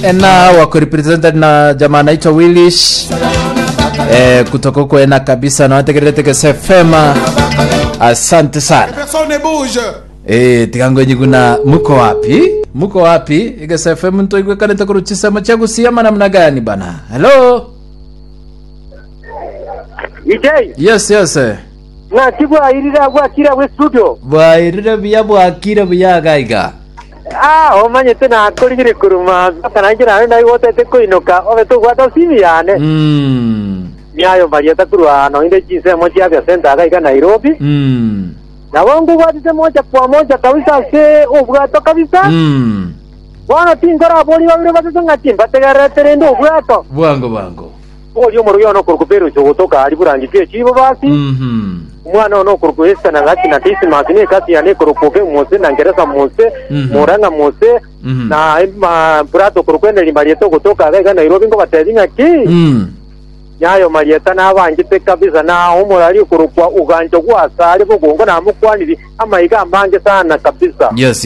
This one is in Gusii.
Ena wako represented na jamaa anaitwa Willish eh, kutoka huko Ena kabisa na wategererete Gese FM. Asante sana. Personne ne bouge. Eh, tigango nyiguna muko wapi? Muko wapi? Gese FM ntoigwekanete kuruchisemo cha gusiama namna gani bana? Hello. DJ, Yes, yes. eh. ng'aki bwairire abwo akire abwo estudio. Bwairire buya bwakire buya gaiga. Ah, omanyete nakorigire korwa mpaka nainche naye naigotete koinoka obe tobwata simu yane. Mm. Miayo marieta korwa noinde chinsemo chia Afya Center iga iga Nairobi. Mm. Nabo nkobwatete moja kwa moja kabisa ase obwato kabisa. Mm. Bono tinkorabori babere batato ng'a timbategererete rende obwato. Bwango bwango. Oria omorogi one okorokwa Perusi ogotoka aria burangeti echibo basi. Mhm. Omwana one okorokwa Esta na Gati na Dismas, na ekasi yane ekorokwa Oge Mose, na Ngeresa Mose, Mhm. Murang'a Mose, Mhm. na ma Brata okorokwa Eneri Marieta ogotoka iga iga Nairobi nkobatebia ng'aki, Mm. Nyayo Marieta nabanchete kabisa, na omorari okorokwa Ugancho gw'Asare bogongo namokwaniri amaiga amange sana kabisa. Yes, yes.